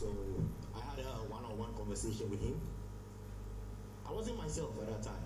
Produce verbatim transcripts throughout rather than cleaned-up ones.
So I had a one-on-one conversation with him. I wasn't myself at that time.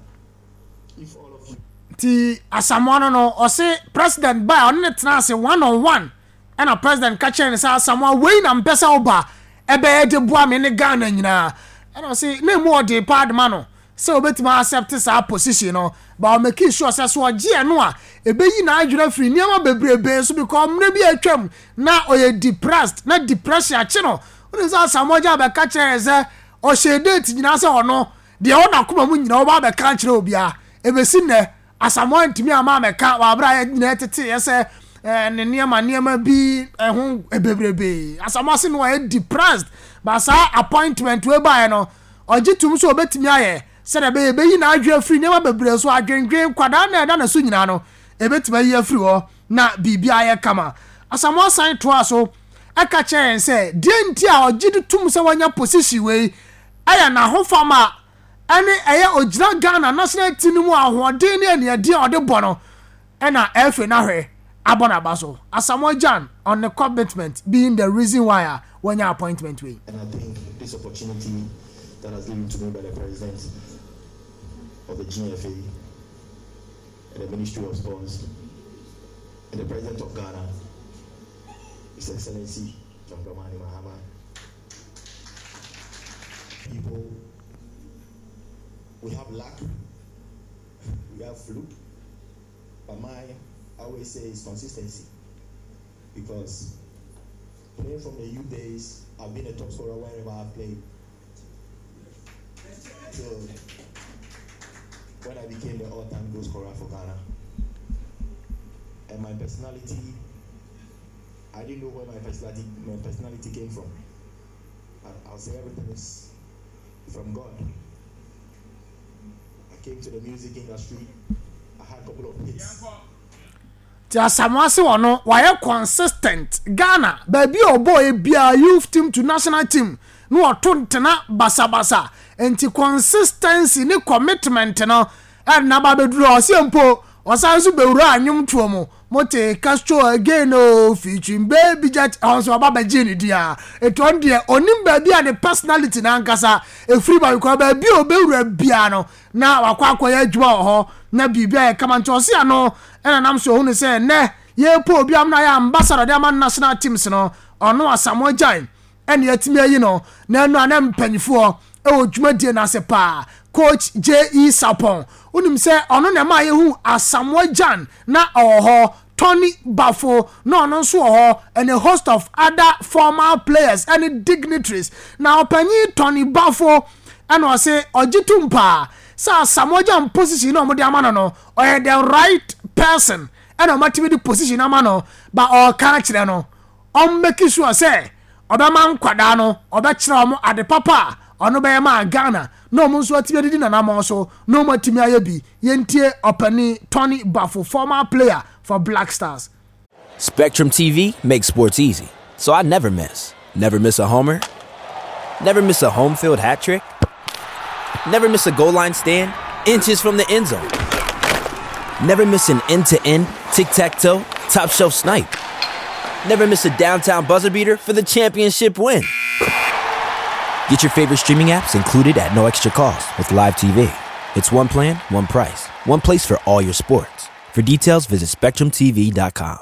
If all of you Nti Asamoah no no ɔse President ba a ɔne ne tena ase one on one, ɛna President ka kyerɛ no sɛ, "Asamoah, wei na mpɛ sɛ woba ɛbɛyɛ de boa me ne Ghana nyinaa." Ɛna ɔse na emu ɔde paa de ma no sɛ obetumi accept saa position no, but ɔmake sure sɛ so ɔgye ɛno a, ebeyi n'adwene afiri nneɛma bebrebe so, because mmerɛ bi atwam na ɔyɛ depressed na depression akyi no. Wɔn sɛ Asamoah Gyan bɛka kyerɛ sɛ ɔhyɛ date nyinaa sɛ ɔno deɛ ɔwɔ n'akoma mu nyinaa ɔba abɛka kyerɛ obiara. Ebesi nnɛ Asamoah ntumi ama amɛka wɔ abere a nyinaa tete yɛ sɛ ɛɛ ne nneɛma nneɛma bi ɛho bebrebe. Asamoah se no ɔyɛ depressed, but saa appointment wei baeɛ no, ɔgye tum so obetumi ayɛ sɛdeɛ ɛbɛyɛ ɛbɛyi n'adwene afiri nneɛma bebree so, adwendwen kwadaa na ɛda ne so nyinaa no, ebetumi ayi afiri hɔ na biribi ayɛ kama. Asamoah san toa so ɛka kyerɛ yɛn sɛ deɛ nti a ɔgye de tum sɛ wɔanya position wei ɛyɛ n'ahofama ɛne ɛyɛ ogyina Ghana national team no mu ahoɔden ne aniɛdeɛ a ɔde bɔ no, ɛna ɛfɛ n'ahwɛ abɔ n'aba so. Asamoah Gyan on the commitment being the reason why a wɔnya appointment wei. And I think this opportunity that has given to me by the President of the G F A and the Ministry of Sports and the President of Ghana, His Excellency John Dramani Mahama, people, we have luck, we have fluke, but mine, I always say, is consistency. Because playing from the youth days, I've been a top scorer wherever I've played. Till when I became the all-time goal scorer for Ghana. And my personality, I didn't know where my personality, my personality came from. But I'll say everything is from God. I came to the music industry. I had a couple of hits. Nti Asamoah se wɔ no wayɛ consistent. Ghana baabi a ɔbɔɔ biara, youth team to national team, na wɔto ntena basabasa, nti consistency ne commitment no ɛna ba bɛduru. Ɔsɛ mpo ɔsan nso bɛwura anwomtoɔ mu, mote Castro Again o, featuring Baby Jet, ɛhɔ nso ɔba bɛgye ne di a etu. Ɔno deɛ onim baabi a ne personality n'ankasa efiri ba, because baabi a ɔbɛwura biara no na wakɔ akɔyɛ adwuma wɔ hɔ na biribi ayɛ kama. Nti ɔsi ano ɛna nam so ohun sɛ nnɛ yɛpɔ obi am na yɛ ambassador de ama national teams no, ɔno Asamoah Gyan ɛna yɛtumi ayi no. Na ɛno a na mpanyinfoɔ ɛwɔ dwumadie n'ase paa, Coach J E. Sapon, wonim sɛ ɔno na ɛma yɛhu Asamoah Gyan na ɔwɔ hɔ, Tony Bafo na ɔno nso wɔ hɔ, and a host of other former players ɛne dignitaries. Na ɔpanyin Tony Bafo ɛna ɔse ɔgye tum paa sɛ Asamoah Gyan position na ɔmo de ama no no, ɔyɛ the right person ɛna ɔmo atumi de position ama no, ba ɔɔka akyerɛ no ɔmmake sure sɛ ɔbɛma nkwadaa no, ɔbɛkyerɛ ɔmo ade papa a ɔno bɛyɛ maa Ghana na ɔmo nso atumi adidi nanamɔ so na ɔmo atumi ayɛ bi. Yɛntie ɔpani Tony Bafo, former player for Black Stars. Spectrum T V makes sports easy, so I never miss. Never miss a homer. Never miss a home field hat trick. Never miss a goal line stand, inches from the end zone. Never miss an end to end, tic tac toe, top shelf snipe. Never miss a downtown buzzer beater for the championship win. Get your favorite streaming apps included at no extra cost with Live T V. It's one plan, one price, one place for all your sports. For details, visit Spectrum T V dot com.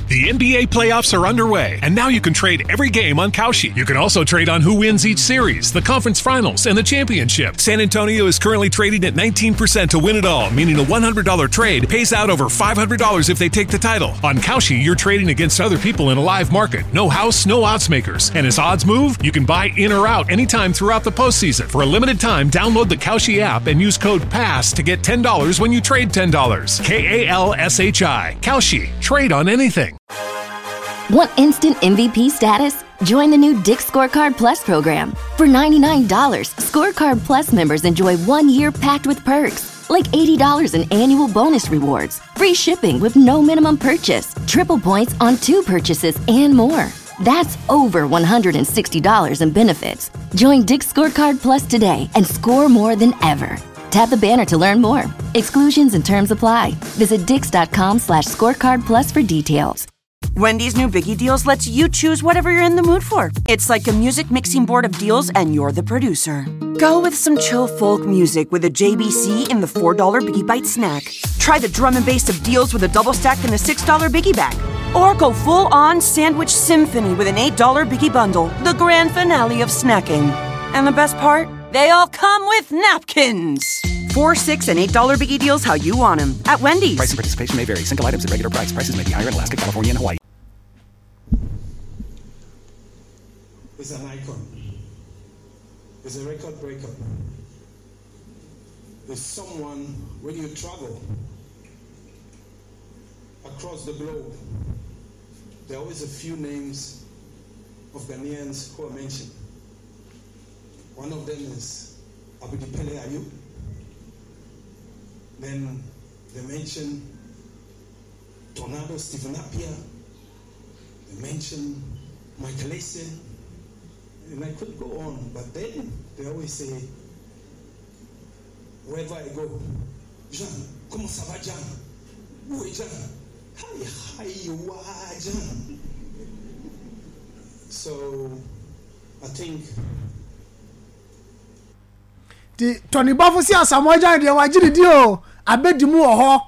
The N B A playoffs are underway, and now you can trade every game on Kalshi. You can also trade on who wins each series, the conference finals, and the championship. San Antonio is currently trading at nineteen percent to win it all, meaning a one hundred dollar trade pays out over five hundred dollars if they take the title. On Kalshi, you're trading against other people in a live market. No house, no odds makers. And as odds move, you can buy in or out anytime throughout the postseason. For a limited time, download the Kalshi app and use code PASS to get ten dollars when you trade ten dollars. K A L S H I. Kalshi. Trade on anything. Want instant M V P status? Join the new Dick's Scorecard Plus program. For ninety-nine dollars, Scorecard Plus members enjoy one year packed with perks, like eighty dollars in annual bonus rewards, free shipping with no minimum purchase, triple points on two purchases, and more. That's over one hundred sixty dollars in benefits. Join Dick's Scorecard Plus today and score more than ever. Tap the banner to learn more. Exclusions and terms apply. Visit dicks dot com slash scorecard plus for details. Wendy's new Biggie Deals lets you choose whatever you're in the mood for. It's like a music mixing board of deals, and you're the producer. Go with some chill folk music with a J B C in the four dollar Biggie Bite snack. Try the drum and bass of deals with a double stack and the six dollar Biggie Bag. Or go full-on sandwich symphony with an eight dollar Biggie Bundle, the grand finale of snacking. And the best part? They all come with napkins. Four, six, and eight dollar Biggie Deals how you want them at Wendy's. Price and participation may vary. Single items at regular price. Prices may be higher in Alaska, California, and Hawaii. It's an icon. It's a record breaker. It's someone, when you travel across the globe, there are always a few names of Ghanaians who are mentioned. One of them is Abedi Pele Ayew. Then they mention Tornado Stephen Appiah. They mention Michael Essien. And I could go on, but then they always say, wherever I go, Jean, comment ça va, Jean? Où est Jean? Hi, hi, why, Jean? So, I think the Tony Bafo si Asamoah Gyan deɛ wagye ne di o abedi mu wɔ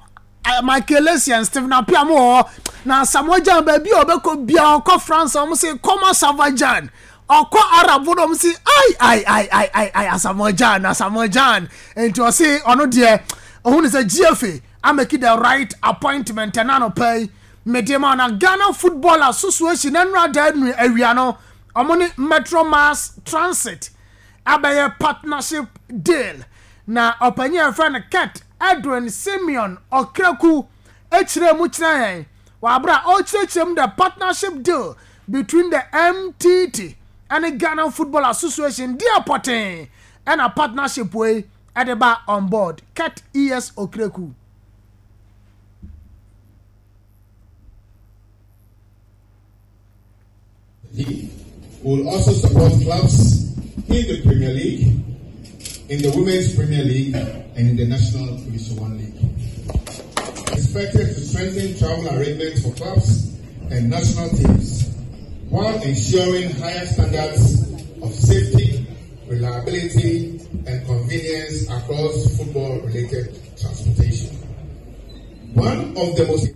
hɔ, Michael Essien, Stephen Appiah mu wɔ hɔ. Na Asamoah Gyan baabi a ɔbɛkɔ bia, ɔkɔ France ɔmo se comment ça va Gyan, ɔkɔ Arab no ɔmo se ai ai ai ai ai ai Asamoah Gyan, Asamoah Gyan. Nti ɔse ɔno deɛ ɔhu ne sɛ G F A ameki the right appointment. Ɛna no pɛ mede ma na Ghana Football Association ɛnura da enu awia no ɔmo ne Metro Mass Transit abɛyɛ partnership deal. Na ɔpanyin a yɛfrɛ no Kurt Edwin Simeon Okraku ekyirɛ mu kyerɛ yɛn wabra ɔkyerɛkyerɛ mu the partnership deal between the M T T and the Ghana Football Association deɛ pɔtɛn ɛna partnership wei ɛde ba on board. Kurt E S Okraku. He will also support clubs in the Premier League, in the Women's Premier League, and in the National Division One League. Expected to strengthen travel arrangements for clubs and national teams, while ensuring higher standards of safety, reliability, and convenience across football-related transportation. One of the most...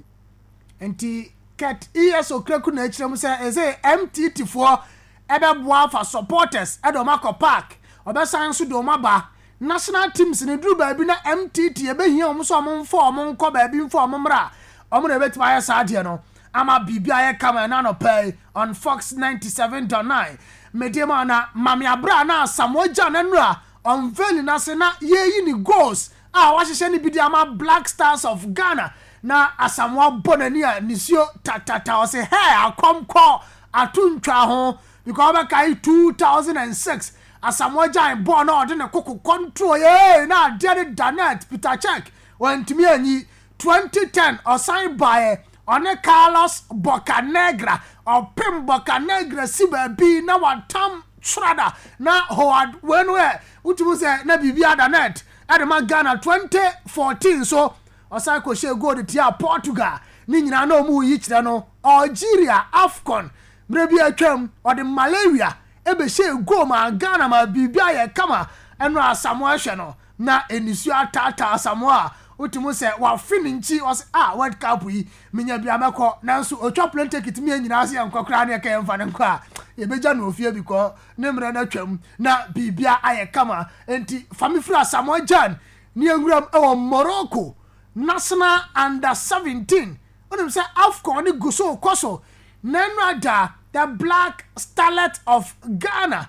Nti Kurt E S Okraku na ekyirem sɛ ɛsɛ M T T foɔ ɛbɛboa fa supporters ɛde ɔmo akɔ park, ɔbɛsan nso de ɔmo aba national teams ne duru baabi na M T T ɛbɛhia ɔmo so ɔmo mfa ɔmo nkɔ baabi mfa ɔmo mmra, ɔmo na ɛbɛtumi ayɛ saa adeɛ no ama biribi ayɛ kama. Ɛna anɔpa yi on Fox ninety-seven point nine mede ma na Mame Abra na Asamoah Gyan na unveil n'ase na yɛyi ne goals a wahyehyɛ ne bi de ama Black Stars of Ghana. Na Asamoah bɔ n'ani a nisuo tatata ɔsɛ hɛ akɔmkɔ ato ntwa ho because ɔbɛka two thousand six Asamoah Gyan bɔɔl na ɔde ne koko control yee na adeɛ ne Danet Peter Cech wɔntumi anyi. twenty ten ɔsan baeɛ ɔne Carlos Bocanegra ɔpem Bocanegra si baabi na watam Schrader na Howard wenu ɛ wotumi sɛ na biribi ada net ɛde ma Ghana. Twenty fourteen so ɔsan kɔhyɛ goal de tia Portugal ne nyinaa na ɔmo yi kyerɛ no Algeria AFCON mmerɛ bi atwam ɔde malaria ɛbɛhyɛ goal ma Ghana ma biribi ayɛ kama. Ɛno Asamoah hwɛ no na enisuo ataataa Asamoah a wotumi sɛ wafe ne nkyi ɔsɛ a World Cup yi menya bi amɛkɔ nanso otwa plane ticket mi nyinaa sɛ yɛnkɔ koraa ne yɛka yɛmfa ne nkɔ a yɛbɛgya no ofie bi kɔ ne mmerɛ no atwam na biribi ayɛ kama. Nti fami firi Asamoah Gyan ne yɛnwuram ɛwɔ Morocco national under seventeen wonim sɛ AFCON ne gu so kɔ so na ɛno ada the Black Starlet of Ghana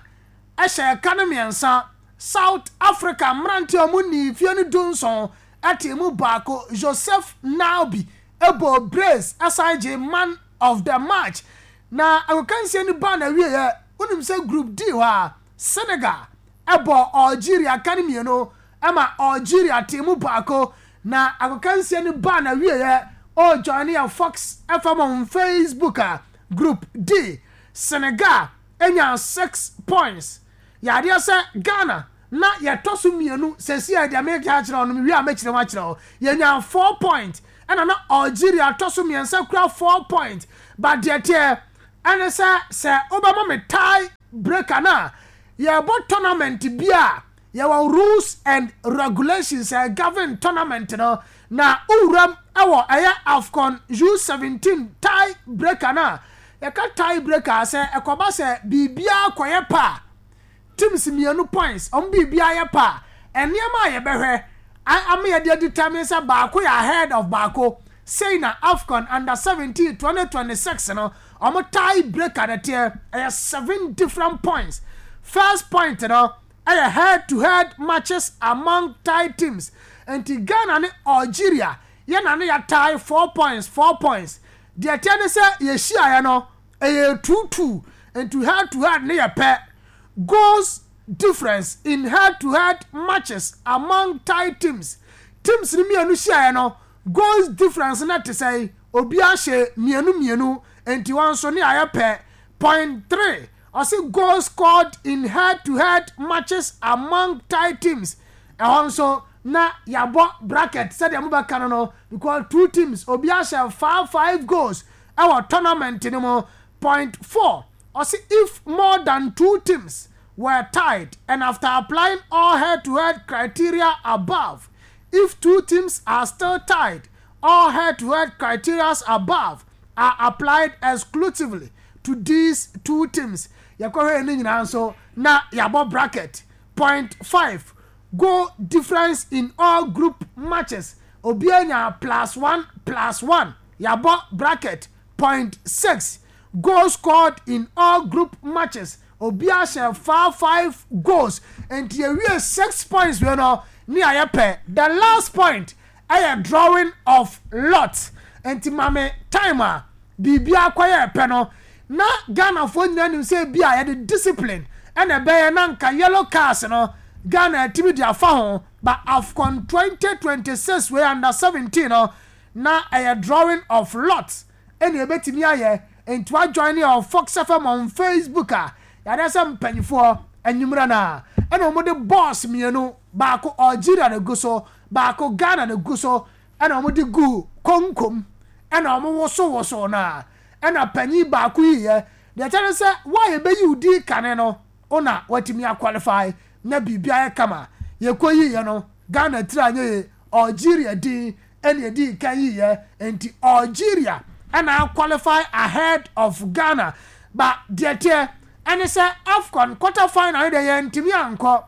ɛhyɛ ɛka no mmiɛnsa. South Africa mmeranteɛ a wɔn ni fie no du nson ɛte mu baako Joseph Nabi ɛbɔ brace ɛsan gye man of the match. Na agokansie no ba na wieɛ wonim sɛ group D hɔ a Senegal ɛbɔ Algeria ka no mmienu ɛma Algeria te mu baako. Na agokansie no ba na wieɛ o join yɛ Fox F M on Facebook a group D Senegal enya six points. Yadeɛ sɛ Ghana na yɛtɔ so mmienu sɛsi a deɛ meka akyerɛ no wie a mɛkyerɛ mu akyerɛ wo yɛnya four point ɛna na Algeria tɔ so mmiɛnsa kura four point But deɛ teɛ ɛne sɛ sɛ wobɛma me tie breaker no a, yɛbɔ tournament bi a yɛwɔ rules and regulations a govern tournament no. Na wowuram ɛwɔ ɛyɛ AFCON U seventeen tie breaker no a, yɛka tie breaker sɛ ɛkɔba sɛ biribiara kɔyɛ pa a, teams mmienu points ɔmo biribiara yɛ pa a, nneɛma a yɛbɛhwɛ ama yɛde determine sɛ baako yɛ ahead of baako sei na AFCON under seventeen twenty twenty six no ɔmo tie breaker no teɛ. Ɛyɛ seven different points. First point no ɛyɛ head to head matches among tie teams. Nti Ghana ne Algeria yɛn na ne yɛ tie four points, four points. Deɛ teɛ ne sɛ yɛhyiaeɛ no ɛyɛ two two, nti head to head ne yɛ pɛ. Goals difference in head to head matches among tie teams, teams ni mmienu hyiaeɛ no, goals difference na te sɛ obi ahyɛ mmienu mmienu, nti wɔn nso ne ayɛ pɛ. Point three, ɔsi goals scored in head to head matches among tie teams, ɛhɔ nso na yabɔ bracket sɛdeɛ mo bɛka no no because two teams obi ahyɛ five five goals ɛwɔ tournament no mu. Point four, ɔsi if more than two teams were tied and after applying all head to head criteria above, if two teams are still tied, all head to head criteria above are applied exclusively to these two teams. Yɛkɔhwɛ ne nyinaa nso na yɛabɔ bracket. Point five, goal difference in all group matches, obiara nya plus one plus one, yɛabɔ bracket. Point six, goals scored in all group matches, obiara hyɛ five five goals, nti yɛwie six points wei no ne ayɛ pɛ. The last point ɛyɛ drawing of lot. Nti maame time a biribiara kɔyɛ pɛ no na Ghanafoɔ nyinaa nim sɛ bi a yɛde discipline ɛna ɛbɛyɛ na nka yellow cards no Ghana atumi de afa ho. But AFCON twenty twenty-six wei under seventeen no na ɛyɛ drawing of lot ɛna ebɛtumi ayɛ. Nti wa join yɛ Fox F M on Facebook a, yɛade sɛ mpanyinfoɔ anwummerɛ no ɛna wɔn de balls mmienu, baako Algeria na egu so, baako Ghana na egu so, ɛna wɔn de gu konkom ɛna wɔn wosowoso na ɛna panyin baako yi yɛ deɛ kyerɛ sɛ wɔn a yɛbɛyi odi kane no ɔna wɔatumi aqualify na biribi ayɛ kama. Yɛkɔ yi yɛ no, Ghana tiri anyɛ yɛ, Algeria din ɛna yɛdi kan yi yɛ, nti Algeria ɛna qualify ahead of Ghana. Ba deɛ teɛ ɛne sɛ AFCON quarter final deɛ yɛntumi ankɔ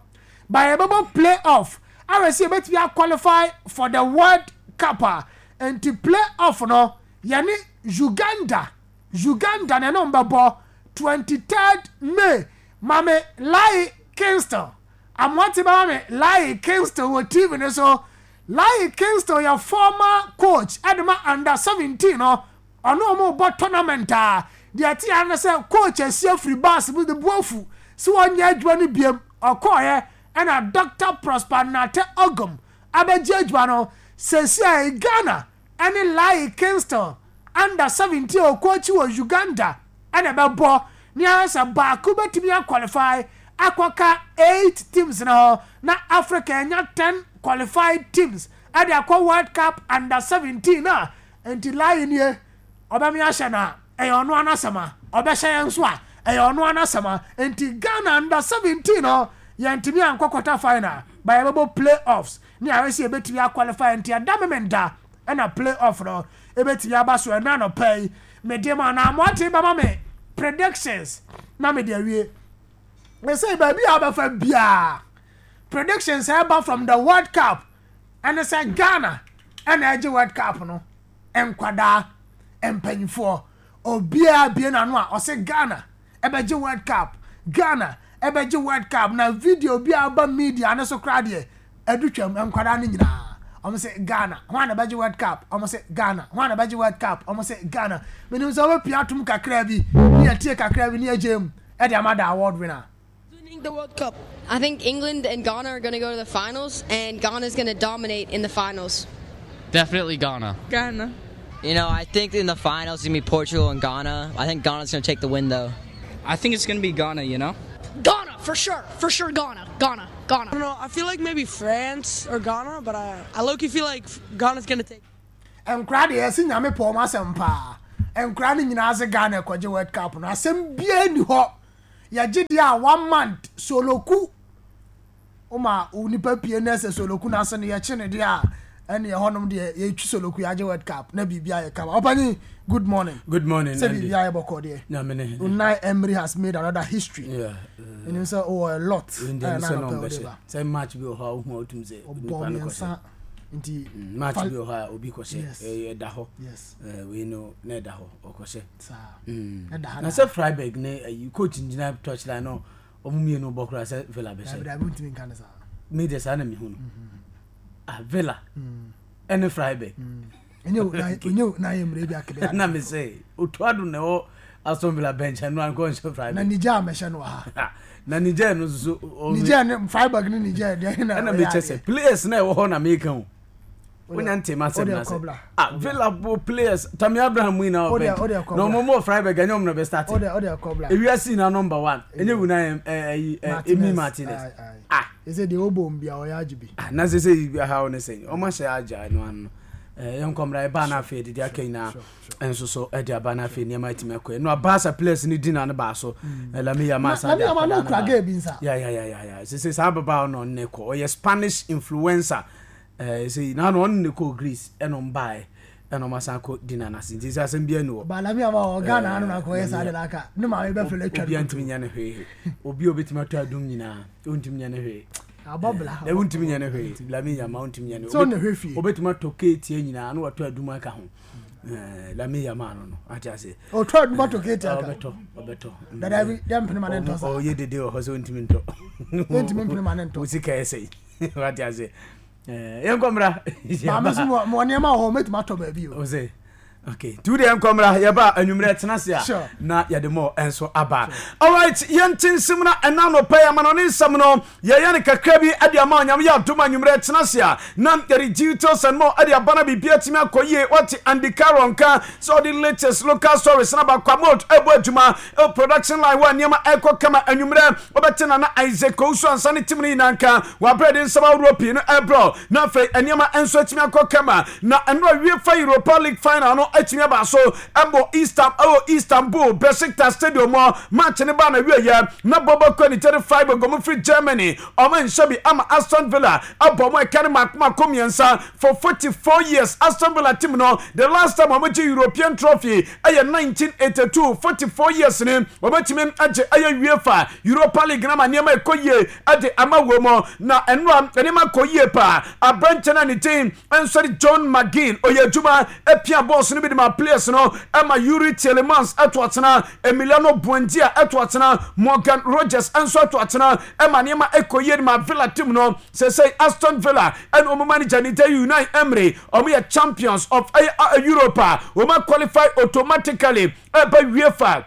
ba, yɛbɛbɔ play off awɛ sɛ yɛbɛtumi aqualify for the World Cup a, nti play off no yɛne Uganda, Uganda na ɛne bɛbɔ twenty third May. Mame Lai Kingston amoate bɛma me Lai Kingston wɔ T V no so. Lai Kingston yɛ former coach ɛde ma under seventeen no, ɔno ɔmo bɔ tournament a deɛ ɛte ya no sɛ coach asi afiri bus mu de bu afu sɛ wɔnyɛ adwuma no biem. Ɔkɔɔyɛ ɛna Doctor Prosper Nate Ogum abɛgye adwuma no sɛsi a Ghana ɛne Lai Kingston under seventeen ɔkɔɔkyi wɔ Uganda ɛna ɛbɛbɔ ne ayɛ sɛ baako bɛtumi aqualify akɔka eight teams na hɔ na Africa ɛnya ten qualified teams ɛde akɔ World Cup under seventeen a. Nti Lai nie, ɔbɛmi ahyɛ na ɛyɛ ɔno anasɛm a ɔbɛhyɛ yɛn nso a ɛyɛ ɔno anasɛm a. Nti Ghana under seventeen no yɛntumi ankɔ quarter final ba, yɛbɛbɔ play offs ne ayɛ sɛ yɛbɛtumi aqualify. Nti ɛda memenda ɛna play off no ɛbɛtumi aba so. Ɛna nɔpɛ yi mede ma na amoate bɛma me predictions na mede awie. Ɛsɛ baabi a wobɛfa biaa predictions ɛba from the World Cup ɛne sɛ Ghana ɛna ɛgye World Cup no. Nkwadaa, mpanyinfoɔ, obiara bie n'ano a ɔsɛ Ghana ɛbɛgye World Cup, Ghana ɛbɛgye World Cup. Na video bi a aba media ne so koraa deɛ ɛdu twam, nkwadaa no nyinaa ɔmo sɛ Ghana wɔn a na bɛgye World Cup, ɔmo sɛ Ghana wɔn a na bɛgye World Cup, ɔmo sɛ Ghana. Menim sɛ ɔbɛpia atum kakra bi ne yɛtie kakra bi ne yɛgye mu ɛde ama the award winner. Winning the World Cup. I think England and Ghana are going to go to the finals, and Ghana's going to dominate in the finals. Definitely Ghana. Ghana. You know, I think in the finals it's gonna be Portugal and Ghana. I think Ghana's gonna take the win, though. I think it's gonna be Ghana, you know? Ghana, for sure. For sure, Ghana. Ghana. Ghana. I don't know. I feel like maybe France or Ghana, but I, I low-key feel like Ghana's gonna take. Nkora deɛ yɛsi Nyame pɔ ɔmo asɛm paa. Nkura no nyinaa se Ghana ɛkɔgye World Cup no, asɛm biara ni hɔ. Yɛgye deɛ a, one month soloku woma nipa pie na ɛsɛ soloku no ase no, yɛkye ne deɛ a, ɛne ɛhɔnom deɛ yɛtwi soloku, yɛagye World Cup na biribi ayɛ kama. Ɔpanyin, good morning. Good morning. Sɛ biribi ayɛ bɔkɔ deɛ? Nyame ne hene. Unai Emery has made another history. Yeah. Ɛnim sɛ ɔwɔ a lot. Ɛyɛ na anɔpɛ wode ba. Sɛ match bi wɔ hɔ a, wohu a, wotum sɛ ɔbɔ nipa no kɔhyɛ. Mmiɛnsa nti Mm, match fa- bi wɔ hɔ a obi kɔhyɛ. Yes. Ɛyɛ ɛda hɔ. Yes. Eh, wei no na ɛda hɔ, ɔkɔhyɛ. Saa. Mm. Ɛda ha Na da. sɛ Freiburg ne ayi coach ngyina touchline no, ɔmo mmienu bɔ koraa sɛ Villa Dabi bɛhyɛ. dabi, wontumi nka ne saa. Me deɛ, saa na mehu no. Ah, Villa ɛne Freiburg. Ɛnyɛ Unai, ɛnyɛ Unai Emery bi akebe. Na me sɛ Otuado na ɛwɔ Aston Villa bench, ɛno ankɔ nhyɛ Na Freiburg. Niger mɛhyɛ no wɔ ha. Na Niger no nso so ɔmo- Niger ne Freiburg ne Niger deɛ na ɛna ɔyɛ mekyɛ adeɛ. sɛ players na ɛwɔ hɔ na meka o, wonya ntɛm asɛm Wode na sɛ kɔbla. Ah, Villa bo players, Tammy Abraham mu nyinaa Wode- wɔ bench wode kɔbla. na ɔmo mo Freiburg, ɛnyɛ ɔmo na bɛ start. Wode wode kɔbla. Ewiase nyinaa number one ɛnyɛ wuna ɛyi Emi Martinez. Aye, aye. Ah. Ɛsɛ deɛ ɔbɔ mu bia ɔyɛ agye bi. Ah, na sɛ sɛ ha wo ne sɛ ɔmo ahyɛ agya no ano no, ɛɛ yɛn nkɔmra ɛbaa na afei dede aka nyinaa nso so ɛde aba na afei nneɛma atumi akɔ no. Abaasa players ne di na no baa so, Lamine Yamal san de Lamine Yamal akwadaa no no kura ba. girl bi nsa. Ya ya ya ya ya, sɛ sɛ saa ababaawa no, ɔno ne kɔ, ɔyɛ Spanish influencer. Ɛɛ sɛ na no ɔno ne kɔ Greece, ɛna ɔmo baeɛ, ɛna ɔmo asan kɔ di na n'ase, nti sɛ asɛm bi ani wɔ. Ba Lamine Yamal wɔ Ghana ano na akɔyɛ saa de na aka ne maame bɛfrɛ no atwa Obi no. antumi nya ne hwee, obi a obetumi atɔ adum nyinaa, ontumi nya ne hwee. Abɔ bla. Ɛ wontumi nya ne hwee, Lamine Yamal wontumi nya ne. Sɛ ɔna hwɛ fie. Obetumi atɔ keetie nyinaa na watɔ adum aka ho. Ɛɛ Lamine Yamal no no ate ase. Ɔtɔ adum atɔ keetie aka. Ɔbɛtɔ, ɔbɛtɔ. Dada bi yɛ mpene ma ne ntɔ saa. Ɔyɛ dede wɔ hɔ sɛ wontumi ntɔ. Yɛntumi mpene ma ne ntɔ. Wo sika ɛsɛ wate ase. Ɛɛ yɛnkɔ mmra. Maame so mɔ mɔ nneɛma wɔ hɔ, mɛtumi atɔ baabi o. O sɛ okay, tu deɛ nkɔmmra, yɛba anwummerɛ tena ase a Sure. na yɛde mɔ ɛnso aba. Alright, yɛnte nsɛm no ɛna nɔpɛ yɛ ama no ne nsɛm no yɛyɛ no kakra bi ade ama Onyame yɛ adom. Anwummerɛ tena ase a na yɛde details and more ade aba na biribi atumi akɔ yie. Wate Andy Carroll nka sɛ ɔde latest local stories na bakwamot ɛbɔ adwuma ɛwɔ production line wɔ nneɛma ɛkɔ kama. Anwummerɛ wobɛte Nana Isaac Owusu ansa ne team no nyinaa nka wabrɛ de nsɛm ahodoɔ pii no ɛbrɛ na afei nneɛma nso atumi akɔ kama. Na ɛno UEFA Europa League final no atumi aba so ɛbɔ Istanbul, ɛwɔ Istanbul Besiktas Stadium hɔ. Match ne ba na wieyɛ na bɔbɔ kɔ ne thirty five gomu firi Germany, ɔmo nhyɛ bi ama Aston Villa abɔ ɔmo ɛka ne mako mako mmiɛnsa. For forty four years, Aston Villa team no, the last time ɔmo gye European trophy ɛyɛ nineteen eighty two. Forty four years ni ɔbɛtumi agye ɛyɛ UEFA Europa League na ma nneɛma ɛkɔ yie ɛde ama wɔ mu. Na ɛnora nneɛma kɔ yie paa. Aberanteɛ no a ne din nso de John McGinn, ɔyɛ adwuma apia bɔɔs no bi de ma players no, ɛma Youri Tielemans ɛto atena, Emiliano Buendia ɛto atena, Morgan Rogers nso ɛto atena, ɛma nneɛma ɛkɔ yie de ma Villa team no. Sɛsɛ Aston Villa ɛna ɔmo manager ne din Unai Emery, ɔmo yɛ champions of ɛyɛ Europe a wɔn qualify automatically ɛbɛ UEFA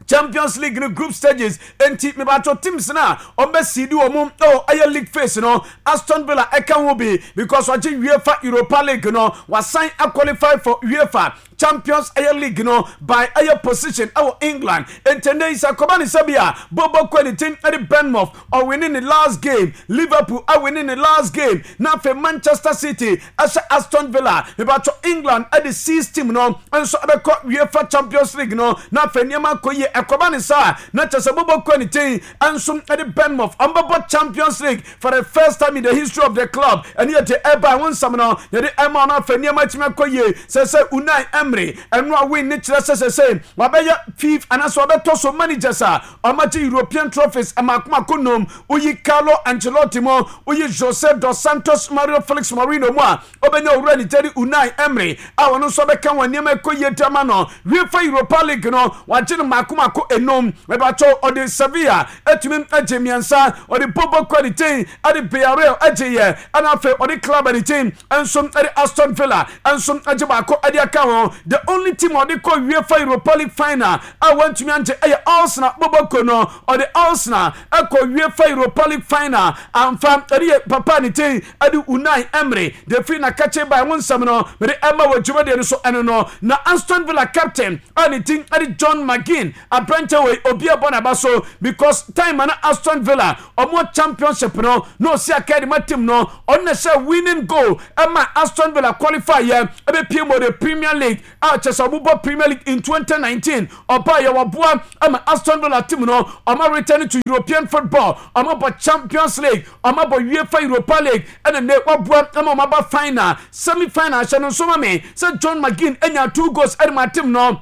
Champions League no group stages. Enti mebatɔ teams na ɔmbɛsidi wɔ mu ɛwɔ ɛyɛ league phase no, Aston Villa ɛka ho bi because ɔgye UEFA Europa League no, wasan aqualify for UEFA Champions ɛyɛ League no by ɛyɛ position ɛwɔ England. Enti ɛnɛ yi sɛ kɔba ne sɛ bi a bobo kɔ ne team ɛde Bournemouth ɔwini ne last game, Liverpool awini ne last game, na afei Manchester City ɛhyɛ Aston Villa, mebatɔ England ɛde six team no nso ɛbɛkɔ UEFA Champions League no na afei nneɛma akɔ yie. Ɛkɔba ne saa na kyerɛ sɛ bobo kɔ ne team nso ɛde Bournemouth ɔmbɛbɔ Champions League for the first time in the history of the club. Ɛne yɛde ɛba ɛho nsɛm no yɛde ɛma ɔno, afei nneɛma atumi akɔ yie. Sɛ sɛ Unai Emery ɛno a win ne kyerɛ sɛ sɛ sɛ wabɛyɛ fifth anaasɛ wabɛtɔ so managers a ɔmagye European trophies ɛmaakomako nom. Woyi Carlo Ancelotti mu, woyi Jose dos Santos Mario Felix Mourinho mu a, ɔbɛnya owura ne gyeri Unai Emery a ɔno nso bɛka wɔn nneɛma ɛkɔ yie dama no. UEFA Europa League no wagye no mako mako enum. Ɛbɛtɔ ɔde Sevilla atumi agye mmiɛnsa, ɔde bobo kɔ ne ten ɛde Villarreal agye yɛ, ɛna afei ɔde club ne ten nso ɛde Aston Villa nso agye baako ɛde aka ho. The only team ɔde kɔ UEFA Europa League final a wɔntumi angye ɛyɛ Arsenal. Bobo kɔ no ɔde Arsenal ɛkɔ UEFA Europa League final amfa. Ɛde yɛ papa ne ten ɛde Unai Emery de firi n'akakye ba ɛho nsɛm no mede ɛma wɔ dwumadie no so. Ɛno no na Aston Villa captain a ne din ɛde John McGinn, aberante wei obi ɛbɔ n'aba so because time na Aston Villa ɔmo championship no na osi aka ma team no, ɔno na hyɛ winning goal ɛma Aston Villa qualify yɛ ɛbɛpie mu the Premier League. A kyɛ sɛ ɔmobɔ Premier League in twenty nineteen, ɔbaa yɛ wɔboa ama Aston Villa team no ɔma return to European football. Ɔma bɔ Champions League, ɔma bɔ UEFA Europa League, ɛna ne waboa ama ɔma ba final, semi final. Hyɛ no nso ma me sɛ John McGinn anya two goals ɛde ma team no,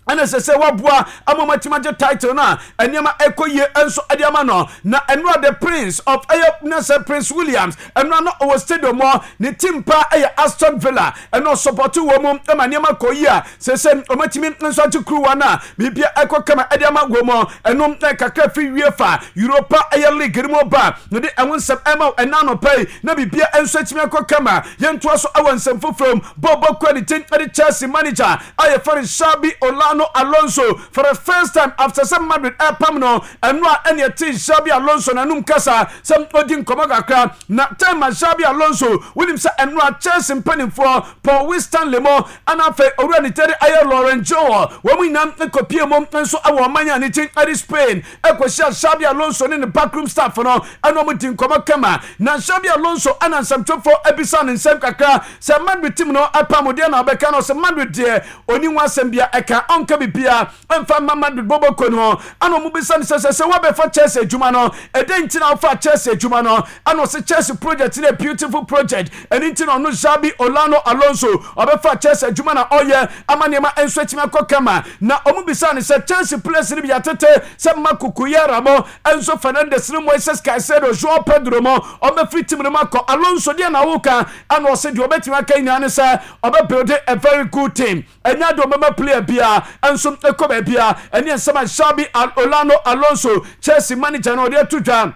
ɛna sɛ sɛ waboa ama ɔmatumi agye title no a nneɛma ɛkɔ yie nso ɛde ama no. Na ɛnora the Prince of ɛyɛ na sɛ Prince Williams ɛnora no ɔwɔ stadium hɔ. Ne team pa ɛyɛ Aston Villa, ɛna ɔsupporte wɔ mu ɛma nneɛma kɔ yie a sɛ sɛ ɔmatumi nso agye kuruwa no a biribia ɛkɔ kama ɛde ama wɔ mu. Ɛno kakra fi UEFA Europa ɛyɛ League no mu ba na de ɛho nsɛm ɛma ɛna anɔpa yi na biribia nso atumi akɔ kama. Yɛntoa so ɛwɔ nsɛm foforɔ mu. Bɔɔbɔ kɔ ne tin ɛde Chelsea manager a yɛfrɛ no Xabi Olano Alonso, for the first time after sɛ Madrid ɛpam no, ɛno a ɛne ɛte Xabi Alonso n'anum kasa sɛ ɔdi nkɔmɔ kakra. Na time a Xabi Alonso, wonim sɛ ɛno a Chelsea mpanimfoɔ Paul Winstanley mo ɛna afei owura ne tɛde ayɛ Lauren Joel, wɔn mu nyinaa nkɔpie mu nso ɛwɔ ɔman a ne ti ɛde Spain ɛkɔhyia Xabi Alonso ne ne backroom staff no, ɛna wɔn di nkɔmɔ kama. Na Xabi Alonso ɛna nsɛmtwerɛfoɔ ɛbisa ne nsɛm kakra sɛ Madrid team no ɛpam deɛ na ɔbɛka no sɛ Madrid deɛ oni ho asɛm bia ɛka ɔnka bibia ɛmfa ma Madrid bɔbɔ kɔ no ho. Ɛna ɔmo bisa no sɛ sɛ sɛ wɔbɛfa Chelsea adwuma no, ɛdɛn nti na ɔfa Chelsea adwuma no? Ɛna ɔsɛ Chelsea project no yɛ beautiful project, ɛno nti na ɔno Xabi Olano Alonso ɔbɛfa Chelsea adwuma na ɔyɛ ama nneɛma nso atumi akɔ kama. Na ɔmo bisa no sɛ Chelsea players no bi atete sɛ Marc Cucurella mo, Enzo Fernandez ne Moises Caicedo, Joao Pedro mo, ɔbɛfiri team no mu akɔ. Alonso deɛ na woka? Ɛna ɔsɛ deɛ ɔbɛtumi aka nyinaa ne sɛ ɔbɛbuild a very good team, ɛnya de ɔbɛma player bia nso ɛkɔ baabia. Ɛne nsɛm a Xabi Olano Alonso, Chelsea manager no, ɔde ato dwa.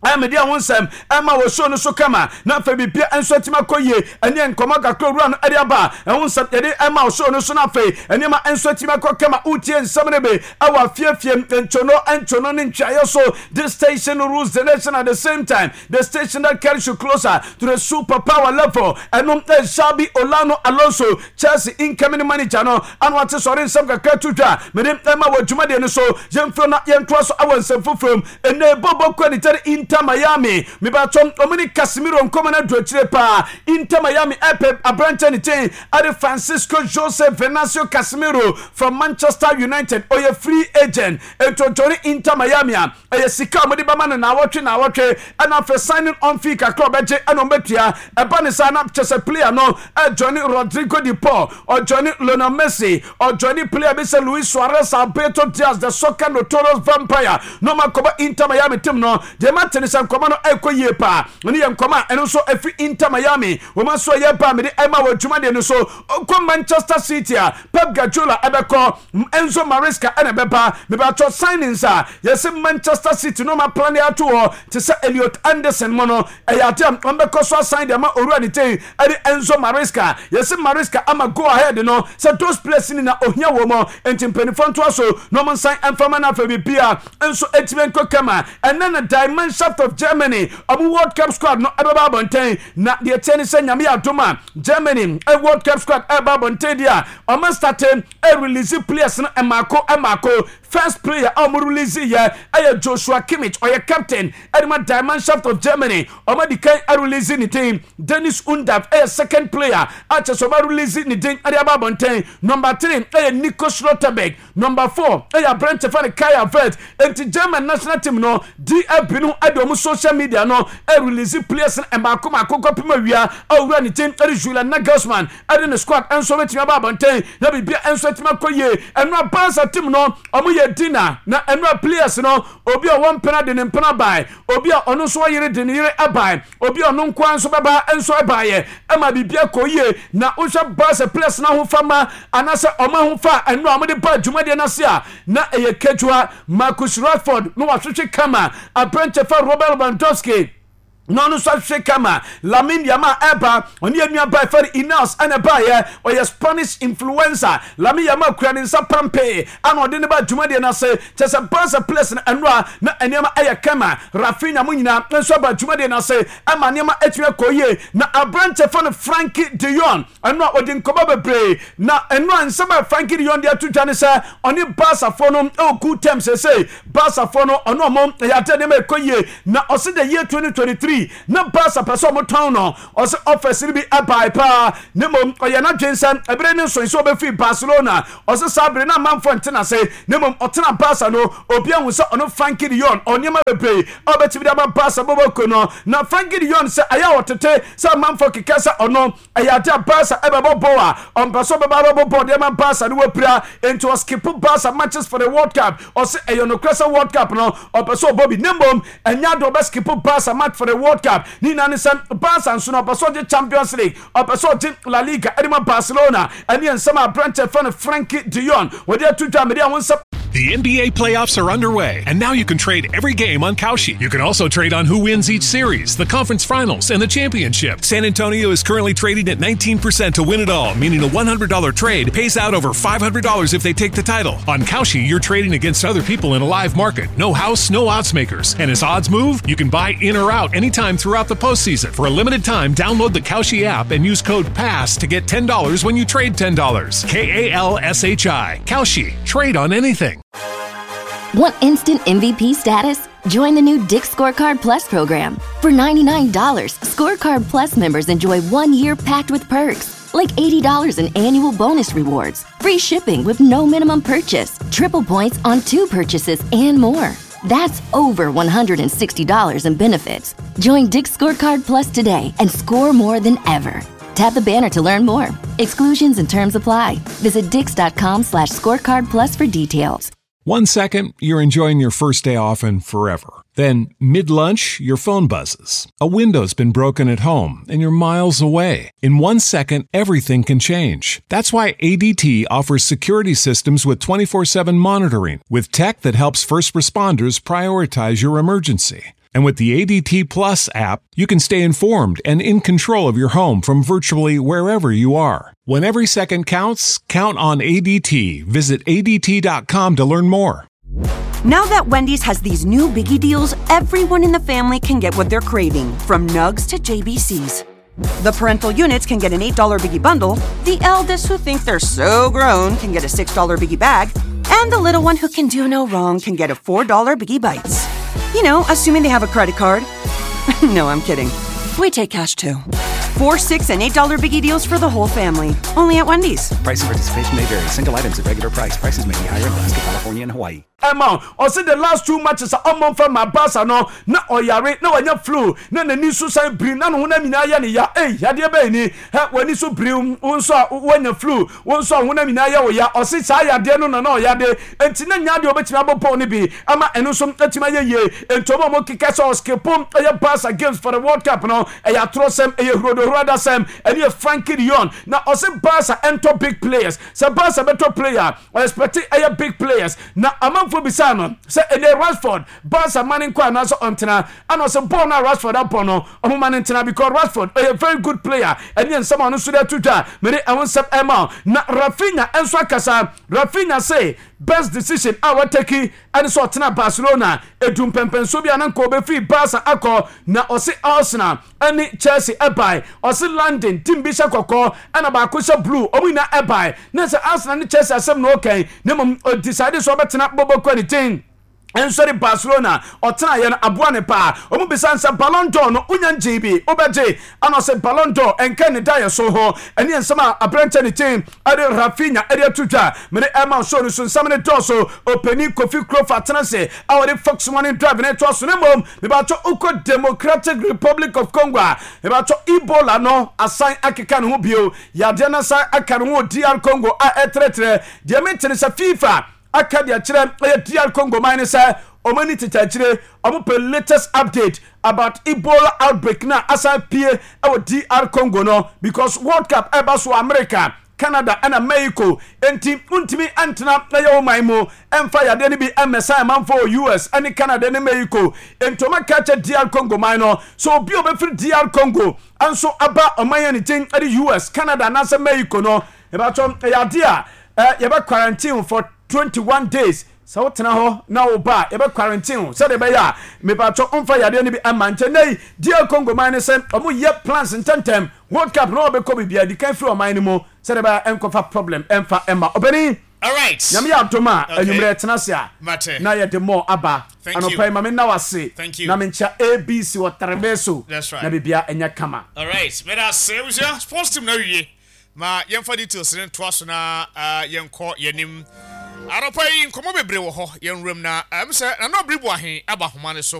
Ɛmɛde ɛho nsɛm ɛma wɔ show no so kama na afei bibia nso atumi akɔ yie. Ɛne nkɔmɔ kakra owura no ɛde aba, ɛho nsɛm yɛde ɛma wɔ show no so na afei nneɛma nso atumi akɔ kama. Wotie nsɛm no bi ɛwɔ afiefie, ntwono ntwono ne ntwaeɛ so. This station rules the nation, at the same time the station that carries you closer to the super power level. Ɛno Xabi Olano Alonso, Chelsea incoming manager no, ano ate sɔre nsɛm kakra to dwa mede ɛma wɔ dwumadeɛ no so. Yɛmfrɛ na yɛntoa so awɔ nsɛm foforɔ mu. Ɛnɛ bɔbɔ kɔ ne tɛre Inter Miami, mebatɔ ɔmo ne Casemiro nkɔmɔ no adu akyire paa. Inter Miami ɛpɛ aberanteɛ ne kyɛn ɛde Francisco Jose Venancio Casemiro from Manchester United. Ɔyɛ free agent, ntontoni Inter Miami a ɛyɛ sika a wɔde bɛma no naawɔtwe naawɔtwe, ɛna afei signing on fee kakra ɔbɛgye ɛna ɔbɛtua. Ɛba ne saa na kyɛ sɛ player no ɛjoin Rodrigo de Paul, ɔjoin Lionel Messi, ɔjoin player bi sɛ Luis Suarez, Alberto Diaz, the soccer notorious vampire, na ɔma kɔbɔ Inter Miami team no. Deɛ ma te ne sɛ nkɔmɔ no ɛkɔ yie paa. Ɛno yɛ nkɔmɔ a ɛno nso ɛfiri Inter Miami wɔn nso ɛyɛ ba mede ɛma wɔ dwumadeɛ no so. Ɔkɔ Manchester City a, Pep Guardiola ɛbɛkɔ, Enzo Maresca ɛna ɛbɛba. Mebatɔ signings a yɛsɛ Manchester City no ma plan ato hɔ te sɛ Elliot Anderson mo no, ɛyɛ ade a wɔbɛkɔ so asan de ama owura ne ten ɛde Enzo Maresca. Yɛsɛ Maresca ama go ahead no sɛ those players ni na ohia wɔ mu, nti mpanimfoɔ ntoa so na wɔn nsan mfama no. Afei bibia nso etimi nkɔ kama. Ɛnɛ na Die Mannschaft of Germany ɔmo World Cup squad no ɛbɛba abɔnten, na deɛ kyɛn ne sɛ Nyame yɛ adom a Germany ɛ World Cup squad ɛba abɔnten deɛ a ɔmo start ɛ release players no ɛmaako ɛmaako. First player a ɔmo release yɛ ɛyɛ Joshua Kimmich, ɔyɛ captain ɛde ma Die Mannschaft of Germany. Ɔmo adi kan ɛrelease ne din. Dennis Undav ɛyɛ second player a kyɛ sɛ ɔmo release ne din ɛde aba abɔnten. Number three ɛyɛ Nico Schlotterbeck, number four ɛyɛ aberante fa ne Kai Havertz. Nti German national team no D F B no ɛde ɔmo social media no ɛrelease players no ɛmaako maako kɔpem awia a owura ne team ɛde Julian Nagelsmann ɛde ne squad ɛnso bɛtumi aba abɔnten na biribia ɛnso atumi akɔ yie. Ɛno a Barca team no ɔmo yɛ dinner, na ɛno a players no, obi a ɔwɔ mpena de ne mpena bae, obi a ɔno nso ɔyere de ne yere ɛbae, obi a ɔno nkoa nso bɛba nso ɛbaeɛ ɛma biribia kɔ yie. Na wohwɛ Barca players no ahofama anaasɛ ɔmo ahofa a ɛno a ɔmode ba dwumadeɛ no ase a na ɛyɛ ketewa. Marcus Rashford na wahwehwɛ kama, aberɛnkyɛ fa Robert Lewandowski na ɔno nso ahwehwɛ kama, Lamine Yamal ɛba, ɔne yɛ nua ba ɛfɛ Ineos ɛna ɛbaayɛ, ɔyɛ Spanish influencer. Lamine Yamal kura ne nsa pampee ana ɔde ne ba dwumadeɛ no ase kyɛ sɛ Barca players no ɛnora na nneɛma ɛyɛ kama. Raphinha mo nyinaa nso aba dwumadeɛ no ase ɛma nneɛma atumi akɔ yie. Na aberanteɛ fa no Frenkie de Jong, ɛno a ɔde nkɔmɔ bebree, na ɛno a nsɛm a Frenkie de Jong de ato dwa ne sɛ ɔne Barcafoɔ no ɛwɔ good terms. Sɛsɛ Barcafoɔ no ɔno ɔmo ɛyɛ ade nneɛma ɛkɔ yie, na ɔsi the year twenty twenty-three twenty twenty-three na Barca pɛ sɛ ɔmo tɔn no. Ɔsɛ offers no bi ɛbae paa, ne mmom ɔyɛ n'adwen sɛ ɛbere ne nso nso ɔbɛfiri Barcelona. Ɔsɛ saa bere na amanfoɔ ntena ase, ne mmom ɔtena Barca no, obi ahu sɛ ɔno Frenkie de Jong ɔnneɛma bebree a ɔbɛtumi de ama Barca bɔbɔko no. Na Frenkie de Jong sɛ ɛyɛ a ɔtete sɛ amanfoɔ keka sɛ ɔno ɛyɛ ade a Barca ɛbɛbɔ bɔɔl a ɔmpɛ sɛ ɔbɛba bɛbɔ bɔɔl de ama Barca no wapira, nti ɔskip Barca matches for the World Cup. Ɔsɛ ɛyɛ nokorɛ sɛ World Cup no ɔpɛ sɛ ɔbɔ bi, ne mmom ɛnyɛ ade ɔbɛskip Barca match for the World Cup. Ne nyinaa ne sɛ Barca nso no, ɔpɛ sɛ ɔgye Champions League, ɔpɛ sɛ ɔgye La Liga ɛde ma Barcelona. Ɛne nsɛm a aberanteɛ fɛ no Frenkie de Jong wɔde ato dwa mede a wo nsɛm. The N B A playoffs are underway, and now you can trade every game on Kalshi. You can also trade on who wins each series, the conference finals, and the championship. San Antonio is currently trading at nineteen percent to win it all, meaning a one hundred dollar trade pays out over five hundred dollars if they take the title. On Kalshi, you're trading against other people in a live market. No house, no odds makers. And as odds move, you can buy in or out anytime throughout the postseason. For a limited time, download the Kalshi app and use code PASS to get ten dollars when you trade ten dollars. K A L S H I. Kalshi. Trade on anything. Want instant M V P status? Join the new Dick's Scorecard Plus program. For ninety-nine dollars, Scorecard Plus members enjoy one year packed with perks, like eighty dollars in annual bonus rewards, free shipping with no minimum purchase, triple points on two purchases, and more. That's over one hundred sixty dollars in benefits. Join Dick's Scorecard Plus today and score more than ever. Tap the banner to learn more. Exclusions and terms apply. Visit dicks dot com slash scorecard plus for details. One second, you're enjoying your first day off and forever. Then, mid lunch, your phone buzzes. A window's been broken at home and you're miles away. In one second, everything can change. That's why A D T offers security systems with twenty-four seven monitoring, with tech that helps first responders prioritize your emergency. And with the A D T Plus app, you can stay informed and in control of your home from virtually wherever you are. When every second counts, count on A D T. Visit A D T dot com to learn more. Now that Wendy's has these new biggie deals, everyone in the family can get what they're craving, from nugs to J B Cs. The parental units can get an eight dollar biggie bundle, the eldest who think they're so grown can get a six dollar biggie bag, and the little one who can do no wrong can get a four dollar biggie bites. You know, assuming they have a credit card. No, I'm kidding. We take cash too. Four, six, and eight dollar biggie deals for the whole family. Only at Wendy's. Price and participation may vary. Single items at regular price. Prices may be higher in Alaska, California, and Hawaii. Ɛma ɔsi the last two matches a ɔmɔ nfa ma Barca no, na ɔyare na wanya flu, na n'ani so san biri, na ne ho nam nyinaa yɛ ne ya. Ei, yadeɛ bɛyɛ ni ɛ, w'ani so biri wo nso a wanya flu, wo nso a honam nyinaa yɛ wo ya. Ɔsi saa yadeɛ no na na ɔyade, nti na nya deɛ ɔbɛtumi abɔ bɔɔl no bi ama ɛno nso atumi ayɛ yie. Nti ɔmo a ɔmo keka sɛ ɔskip ɛyɛ Barca games for the World Cup no, ɛyɛ atorɔsɛm, ɛyɛ hurodohuro adasɛm. Ɛne yɛ Frenkie de Jong na ɔsi Barca ɛntɔ big players. Sɛ Barca bɛtɔ player, ɔexpect ɛyɛ big players. Na amanfoɔ bisa no sɛ ɛnɛ Rashford, Barca ma ne nkɔ anaasɛ ɔntena, ana ɔsɛ bɔɔl no a Rashford abɔ no, ɔmo ma ne ntena because Rashford ɔyɛ very good player. Ɛne nsɛm a ɔno nso de ato dwa mede ɛho nsɛm ɛma. Na Raphinha nso akasa. Raphinha say best decision a watake ɛne sɛ ɔtena Barcelona. Edu mpɛmpɛnso bi a na nka ɔbɛfiri Barca akɔ, na ɔse Arsenal ɛne Chelsea ɛbae. Ɔse London team bi hyɛ kɔkɔɔ ɛna baako hyɛ blue, ɔmo nyinaa ɛbae, na sɛ Arsenal ne Chelsea asɛm na ɔkɛn, na mmom ɔdecide sɛ ɔbɛtena bɔbɔkɔ ne ten nsɔre Barcelona. Ɔtena yɛ no aboa ne paa. Ɔmo bisa sɛ Ballon d'Or no wonya ngye bi wobɛgye ana, ɔsɛ Ballon d'Or ɛnka ne da yɛ so ho. Ɛne nsɛm a aberɛnkyɛ ne ten ɛde Raphinha ɛde ato dwa mede ɛma show no so. Nsɛm ne dɔɔso. Ɔpanin Kofi Kurofa tena se a wɔde Fox Morning Drive ne toa so. Ne mmom mebatɔ wokɔ Democratic Republic of Congo a, mebatɔ Ebola no asan akeka ne ho bio. Yadeɛ no asan aka ne ho wɔ D R Congo a ɛtrɛtrɛ. Deɛ metene sɛ FIFA aka deɛ kyerɛ ɛyɛ D R Congo man ne sɛ ɔmo ani tete akyire, ɔmo pɛ latest update about Ebola outbreak na asan pie ɛwɔ D R Congo no, because World Cup ɛba so America, Canada ɛna Mexico, nti ntumi ntena ɛyɛ wɔn man mu ɛmfa yadeɛ no bi ɛmɛsan amanfo wɔ U S ɛne Canada ne Mexico. Nti ɔmo aka kyɛ D R Congo man no so obi a ɔbɛfiri D R Congo nso aba ɔman yɛn ne tin ɛde U S, Canada anaasɛ Mexico no, ɛbɛtɔ ɛyɛ adeɛ a ɛ yɛbɛ quarantine for twenty one days. Sɛ wotena hɔ na wo ba a, yɛbɛ quarantine wo sɛdeɛ ɛbɛyɛ a mepatɔ mfa yadeɛ no bi ama. Nkyɛn nɛ yi D R Congo man no sɛ ɔmo yɛ plans ntɛntɛm, World Cup na ɔbɛkɔ biribi adi kan firi ɔman no mu sɛdeɛ ɛbɛyɛ ɛnkɔfa problem ɛmfa ɛma ɔbɛni. All right. Nyame yɛ adom a anwummerɛ tena ase a Mate. na yɛde more aba. Thank Anɔpa you. yi ma me nna wo ase Thank you. na menkyia A B C wɔ Terebe so That's right. na biribia ɛnyɛ kama. All right, meda ase, abusua. Sports team na awie ma yɛmfa details no ntoa so na uh, yɛnkɔ yɛnim. Anɔpa yi nkɔmmɔ bebree wɔ hɔ yɛn wuram na ɛm sɛ Nana Obiri Boahen aba ahoma no so.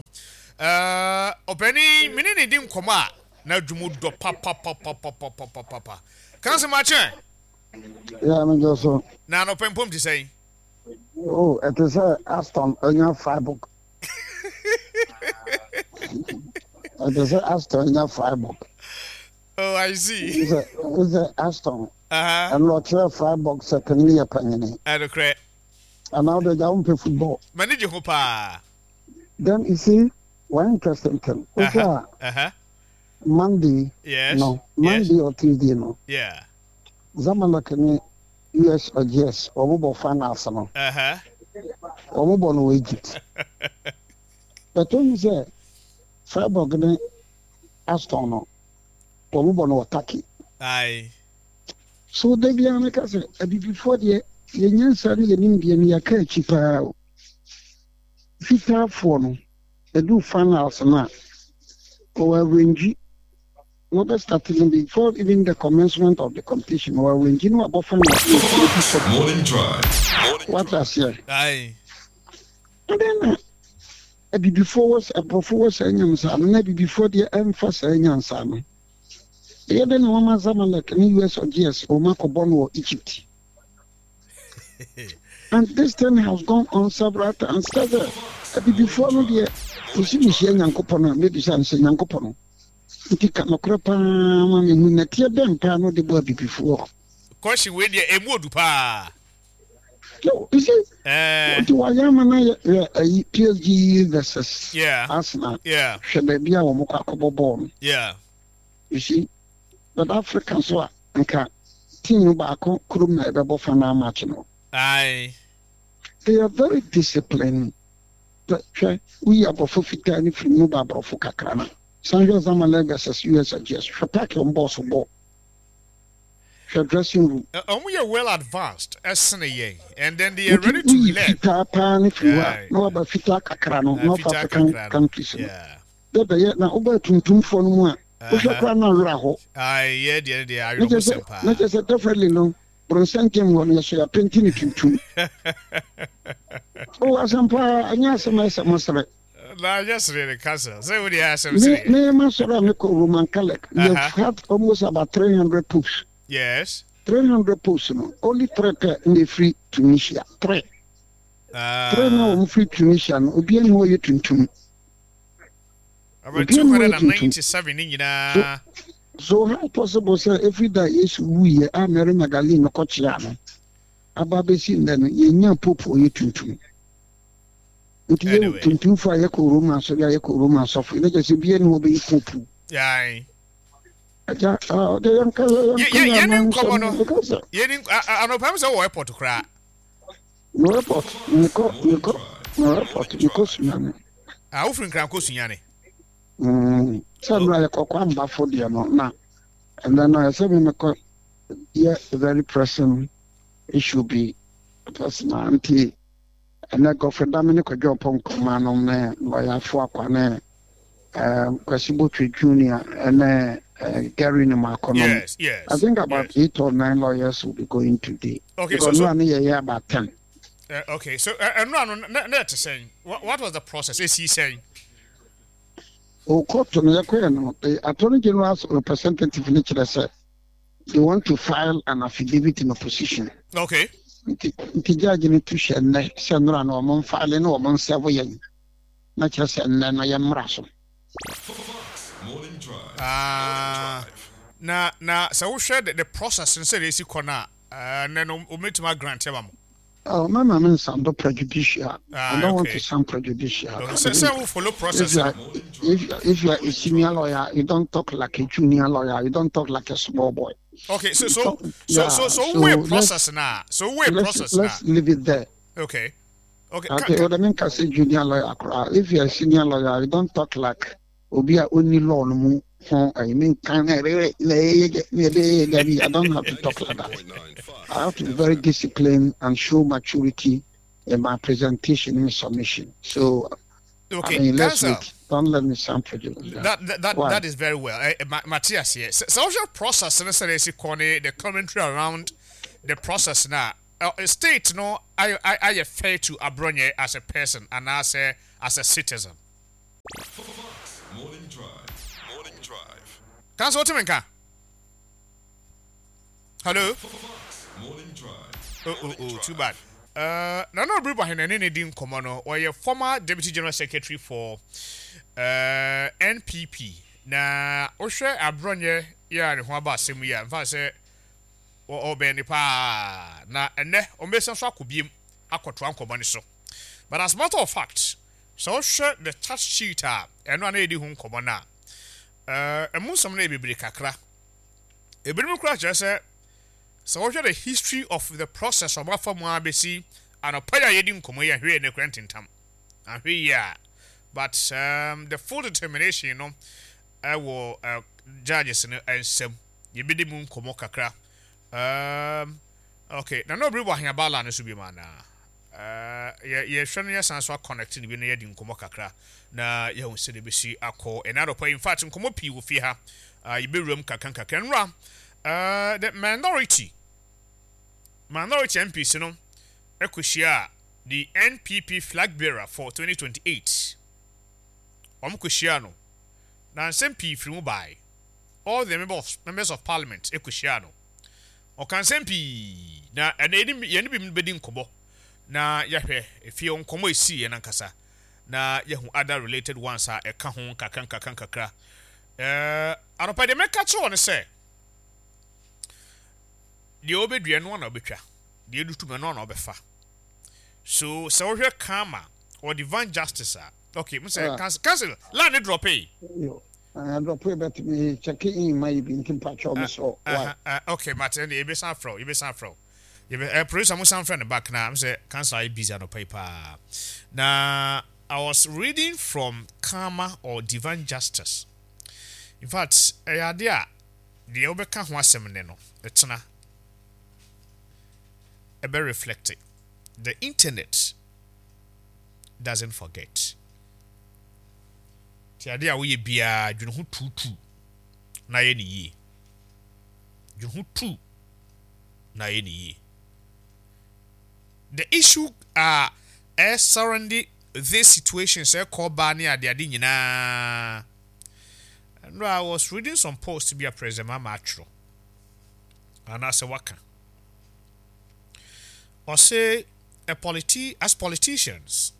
Uh, ɔpanin mene ne di nkɔmmɔ a na adwumu dɔ papapapapapapapa. Kansi makyɛn. Yeah, me just so. Na anɔpa mpom te sɛn? Oh, ɛte sɛ Aston anya Freiburg. Ɛte sɛ Aston anya Freiburg. Oh, I see. Sɛ sɛ Aston. Uh-huh. Ɛno ɔkyerɛ Freiburg sɛ panyin yɛ panyini. Ɛnokorɛ. Anaa wode gya wompɛ football? M'ani gye ho paa. Then you see, one interesting thing. Wohwɛ a Uh-huh. Monday Yes. no, Monday or Tuesday no, Yeah. Zamalek ne U S Algiers wɔn bɔ finals no. Uh-huh. Wɔn bɔ no wɔ Egypt. But ohun sɛ Freiburg ne Aston no, wɔn bɔ no wɔ Turkey. Aye. So da biara meka sɛ abibifoɔ deɛ, yɛn nyansa ne yɛn nimdeɛ no, yɛka akyi paa o. Fitaafoɔ no ɛdu finals no a, ɔwɔ arrange na ɔbɛ start no before even the commencement of the competition. Ɔwɔ arrange no wabɔ finals no ɛdu fam. Morning Drive. Wate aseɛ? Aye. Ɛdɛn na abibifoɔ wɔ aborɔfo wɔ saa nyansa no na abibifoɔ deɛ ɛmfa saa nyansa no? Ɛyɛ dɛ na wɔma Zamalek ne U S Algiers wɔn akɔbɔ no wɔ Egypt, and this thing has gone on several times. Sɛ sɛ abibifoɔ no deɛ, kɔsi mehyia Nyankopɔn a mɛbisa no sɛ, Nyankopɔn no nti ka nokorɛ paa ma mehu nɛteɛ bɛn paa no de bɔ abibifoɔ? Question wei deɛ, emu odu paa. Yo, you see, Eh. nti wɔayɛ ama no yɛ yɛ ayi P S G versus Yeah. Arsenal. Yeah. Hwɛ baabi a wɔn kɔ akɔbɔ bɔɔl no. Yeah. You see, but Africa nso a nka team baako kurom na ɛbɛbɔ final match no. Aye. They are very disciplined. But hwɛ, woyi aborɔfo fitaa ne firi mu ba aborɔfo kakra no, san hwɛ Zamalek versus U S Algiers, hwɛ park wɔn bɔɔl so bɔ, hwɛ dressing room. Uh, Ɔmo yɛ well advanced ɛsene yɛn and then they are Nti ready to woyi learn. Fitaa paa ne firi hɔ a Aye. na waba fitaa kakra no, Uh, North fitaa African kakra no. countries no Yeah. dɛ bɛyɛ na wobaa tuntumfoɔ no mu a, wohwɛ Uh-huh. koraa na awerɛ hɔ. Aye, yɛ deɛ deɛ Na awerɛho kyerɛ sɛm sɛ paa. na kyerɛ sɛ definitely no, borɔnsɛn team hɔ no, yɛso yɛapaint ne tuntum o. Asɛm paa, ɛnyɛ asɛm a ɛsɛ mo serɛ. Na nyɛ sere ne kasa sɛ wo deɛ asɛm Me sere. me ma sɔrɔ a mekɔ Roman Catholic, we have Uh-huh. had almost about three hundred popes. Yes. three hundred popes no, only three pɛ na ɛfiri Tunisia. Three, three na wɔn firi Tunisia no, obiara ni hɔ yɛ tuntum. About Obiara ni hɔ yɛ tuntum. two hundred ninety-seven ne nyinaa. So how possible sɛ ɛfiri da Yesu wuyɛ a Mary Magdalene no kɔkyea no aba bɛsi nnɛ no, yɛnya pope ɔyɛ tuntum? Nti yɛ Anyway. tuntumfo a yɛkɔ Roma asɔre a yɛkɔ Roma asɔfo ne kyɛ sɛ obiara ni hɔ bɛyɛ pope. Aye. Agya, ah, ɔde yɛnka Yɛ- yɛ- yɛnka yɛne nkɔmmɔ no because yɛne a- a- anɔpa m sɛ wɔ airport koraa. No airport, mekɔ mekɔ no airport, mekɔ Sunyane. Ah, wofiri Nkran kɔ Sunyane? Mm, sɛ nnora yɛkɔkɔ ambafo deɛ no, na ɛnɛ no ɛsɛ me mekɔ yɛ very pressing issue bi personal, nti ɛnɛ Gɔfre Dame ne Kwadwo Ɔpɔ Nkɔma nom ne lɔyafo akwa ne um, Kwasi Botwe Junior ɛne uh, Gary Numakɔ nom. Yes, yes, I think about eight or nine lawyers will be going today. Okay, because so- so- no ne yɛyɛ about ten. Uh, okay, so uh, ɛno ano na na ɛte sɛn? What, what was the process? Esi sɛn? O court no, yɛkɔɛ no, the Attorney General's representative ne kyerɛ sɛ they want to file an affidavit in opposition. Okay. nti nti judge no to hyɛ nnɛ sɛ nnora no ɔmo mfile ne ɔmo nserve yɛn, na kyerɛ sɛ nnɛ no yɛmmra so. Ah, na na sɛ wohwɛ the, the process no sɛdeɛ ɛsi kɔ no a, uh, nnɛ no wɔmɛtumi agrant ama mo? Oh, mama me nsound prejudicial. Ah, I don't want okay. to sound prejudicial. Okay, sɛ sɛ wo follow process If you are, no. if, if you are a senior lawyer, you don't talk like a junior lawyer. You don't talk like a small boy. Okay, so so Talk- so yeah, so so so wo let's- process na so wo Let's, process let's na leave it there. okay okay Okay, what I mean, can say junior lawyer. Koraa. If you are a senior lawyer, you don't talk like obi a only law no mu ho ayi menka na I don't have to talk like that. I have to be very disciplined and show maturity in my presentation and submission. So, okay, I mean, let's Council. wait. Don't let me sound prejudiced. That that that, Why? that is very well. Uh, Ma- Matthias here. So, social process no sɛ ɛsi kɔ ne the commentary around the process na uh, state no I I I fair to Abronye as a person and as a as a citizen. Morning Drive. Morning Drive. Council, what you Hello. Morning Drive. Oh, oh, oh, too bad. Uh, Nana Obiri Boahen ne ne di nkɔmmɔ no, ɔyɛ former deputy general secretary for uh, N P P. Na wohwɛ Abronye yɛ a ne ho aba asɛm yi a, mfa sɛ ɔbɛn ne paa na ɛnɛ ɔmbɛsan so akɔ biem akɔtoa nkɔmmɔ no so. But as a matter of fact, sɛ wohwɛ the charge sheet a ɛno a na yɛdi ho nkɔmmɔ no a, uh, ɛmu nsɛm no yɛ bebree kakra. Ebinom koraa kyerɛ sɛ sɛ wohwɛ the history of the process ɔmo afa mu a bɛsi anɔpa yi a yɛdi nkɔmmɔ yi, ahwɛ yɛ ne kora ntentam ahwɛ yi a, but um, the full determination no ɛwɔ uh, judges no nsam. Yɛbɛdi mu nkɔmmɔ kakra. um, okay na na obiri wɔ aheabala no so bi mu anaa? uh, yɛ yɛhwɛ no, yɛsan so aconnect no bi na yɛdi nkɔmmɔ kakra na yɛhu sɛ de bɛsi akɔ ɛna anɔpa yi. In fact, nkɔmmɔ pii wɔ fie ha. uh, yɛbɛwura mu kakra nkakra. Nwura uh, the minority minority M Ps no ɛkɔhyia the N P P flag bearer for twenty twenty-eight. Wɔn kɔhyia no na nsɛm pii firi mu bae. All the members of, members of parliament ɛkɔhyia no, ɔka nsɛm pii na ɛna yɛne yɛne bi bɛdi nkɔmmɔ na yɛhwɛ efie nkɔmmɔ esi yɛn ankasa na yɛhu other related ones a ɛka ho nkakra nkakra nkakra. ɛɛ anɔpa deɛ mɛka kyerɛ wɔn sɛ deɛ ɔbɛdua no na ɔbɛtwa, deɛ ɛdutu mu no na ɔbɛfa so. Sɛ wohwɛ karma or divine justice a, okay, m sɛ Ah. council council line ne drop yi. Yo, uh, drop yi, but me check in my bi nti mpakyɛw me so. Why? Uh, uh, okay, mate, ɛnde yɛbɛsan frɛ wo, yɛbɛsan frɛ wo. Yɛbɛ uh, producer mo san frɛ no back na m sɛ council ayɛ busy anɔpa yi paa. Na I was reading from karma or divine justice. In fact, ɛyɛ ade a deɛ wobɛka ho asɛm ne no ɛtena ɛbɛ reflect it. The internet doesn't forget. Nti ade a woyɛ biara, dwene ho tuutuu na yɛ ne yie. Dwene ho tu na yɛ ne yie. The issue a ɛ surrounding this situation sɛ ɛkɔ baa ne adeade nyinaa no, I was reading some posts bi a President Mahama atwerɛ anaasɛ waka. Ɔse a politi as politicians,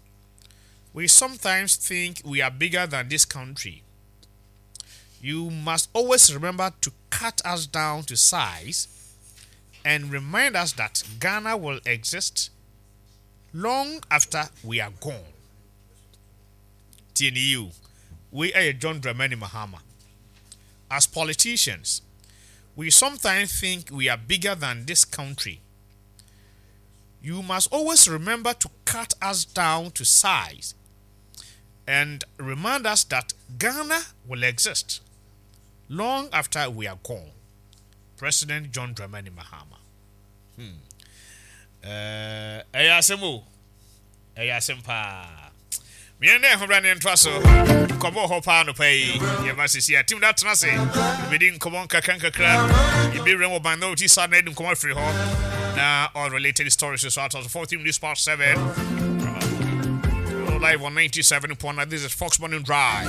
we sometimes think we are bigger than this country. You must always remember to cut us down to size and remind us that Ghana will exist long after we are gone. T N U, we are John Dramani Mahama. As politicians, we sometimes think we are bigger than this country. You must always remember to cut us down to size and remind us that Ghana will exist long after we are gone. President John Dramani Mahama. Hmm. Ɛyɛ asɛm o, ɛyɛ asɛm paa. Mmiɛn dɛ ɛho bra ne ntoa so nkɔmmɔ hɔ paa. Nɔpa yi yɛma sisi a team da tena ase, yɛbɛdi nkɔmmɔ nkakra nkakra. Yɛbɛwura wɔ minority side na yɛdi nkɔmmɔ afiri hɔ na all related stories so out of fourteen minutes past seven, live on ninety-seven point nine. This is Fox Morning Drive.